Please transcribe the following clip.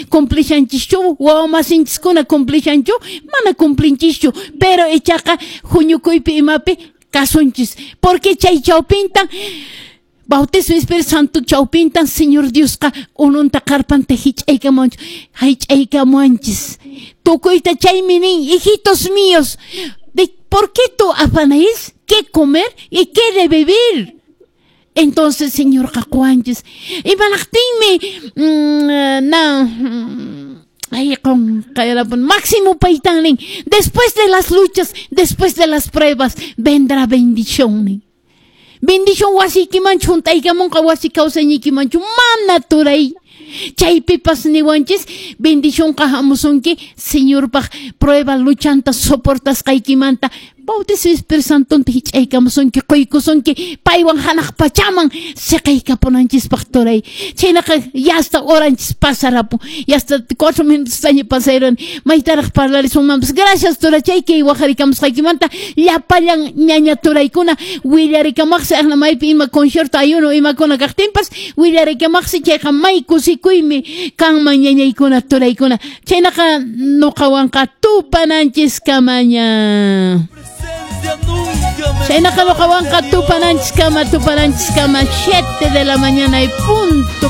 Cumplishanchischu, wawamasinchiskuna cumplishanchu? Mana cumplinchischu, pero ichaqa huñukuypi imapi kasunchis, porque chay chawpintan bautismo Espíritu Santo chawpintan Señor Diosqa ununta qarpanta hich'aykamuwanchis, hich'aykamuwanchis tukuyta. Chaymi nin: "Hijitos míos, ¿de por qué tú afanáis qué comer y qué de beber?" Entonces Señorqa quwanchis. Imanaqtinmi na ay qonqayrapun máximo paytan nin: "Después de las luchas, después de las pruebas vendrá bendición", nin. Bendición wasiykimanchu hunt'aykamunqa, wasi kawsayñiykimanchu? Mana, turay. Chaypipas niwanchis: bendicionqa hamusunki Señorpaq prueba luchanta soportasqaykimanta, bautismo Espíritu Santonta hich'aykamusunki, quykusunki paywan hanaq pachaman siqaykapunanchispaq, turay. Chaynaqa ya hasta horanchis pasarapun, ya hasta 4 minutostaña pasayron, maytaraq parlarisunmanpas. Gracias, turachay, kay waqharikamusqaykimanta. Llapallan ñaña turaykuna willarikamaqsi, aqna maypi ima concierto, ayuno imakuna kaqtinpas willarikamaqsi, chayqa may kusikuymi kanman, ñañaykuna, turaykuna. Chaynaqa nuqawanqa tupananchis kamaña. Presencia nunca me Chaynaqa nuqawanqa falta, tupananchis kama, tupananchis kama, 7 de la mañana y punto.